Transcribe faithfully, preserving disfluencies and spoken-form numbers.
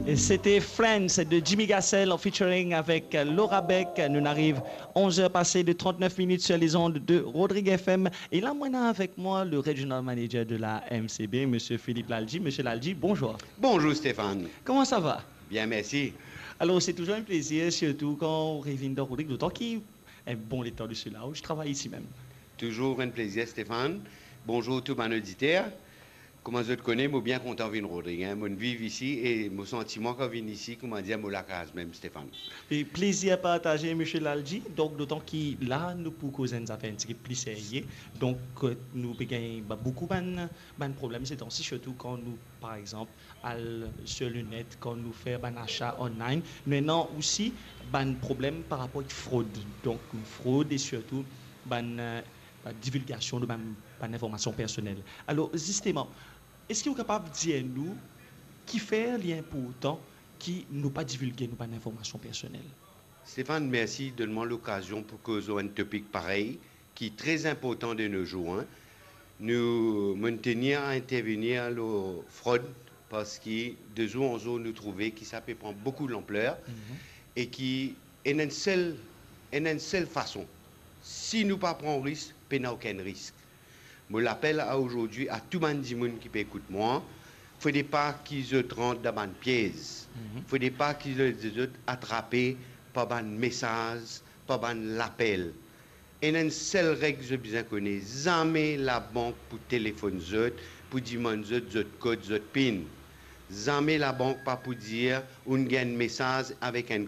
Et c'était Friends de Jimmy Gassel en featuring avec Laura Beck. Nou ariv onze heures passées de trente-neuf minutes sur les ondes de Rodrigue F M. Et là, moi, on a avec moi le regional manager de la M C B, Monsieur Philippe Lalji. Monsieur Lalji, bonjour. Bonjour Stéphane. Comment ça va ? Bien, merci. Alors, c'est toujours un plaisir, surtout quand on revient dans Rodrigue, d'autant qu'il est bon le temps de cela, où je travaille ici même. Toujours un plaisir, Stéphane. Bonjour tout bann oditer. Kouma zot kone, mo bien kontan vinn Rodrig, hein. Mo viv isi e mo santi mwa kan vinn isi, kouma dir, mo lakaz mem, Stéphane. E plezir partaze, Misie Lalji. Donk, dotan ki la, nou pou koz enn zafer enn tigit pli serye. Donk, euh, nou pe gagn ba-, boukou bann, bann problem se tan-si, sirtou kan nou, par exanp, al sur le net, kan nou fer bann asa online. Nou ena osi bann problem par rapor ek frod. Donk, frod e sirtou bann, euh, bann divilgasion de bann, bann informasion personel. Alor, zisteman, eski ou kapav dir nou kifer li inportan ki nou pa divilge nou bann informasion personel? Stéphane, mersi donn mwa lokazion pou koz lor enn topik parey ki tre inportan de no zour, hein. Nou, mo tenir a intervenir lor frod, parski de zour an zour nou trouve ki sa pe pran boukou lanpler, mhm, e ki ena enn sel, ena enn sel fason. Si nou pa pran risk, pena okenn risk. Mo lapel a ozordi a tou bann dimoun ki pe ekout mwa, fode pa ki zot rant dan bann piez. Mhm. Fode pa ki zot, zot atrape par bann mesaz, par bann lapel. Ena enn sel reg zot bizin kone, zame labank pou telefonn zot, pou dimann zot zot kod, zot pin. Zame labank pa pou dir, ou'nn gagn mesaz avek enn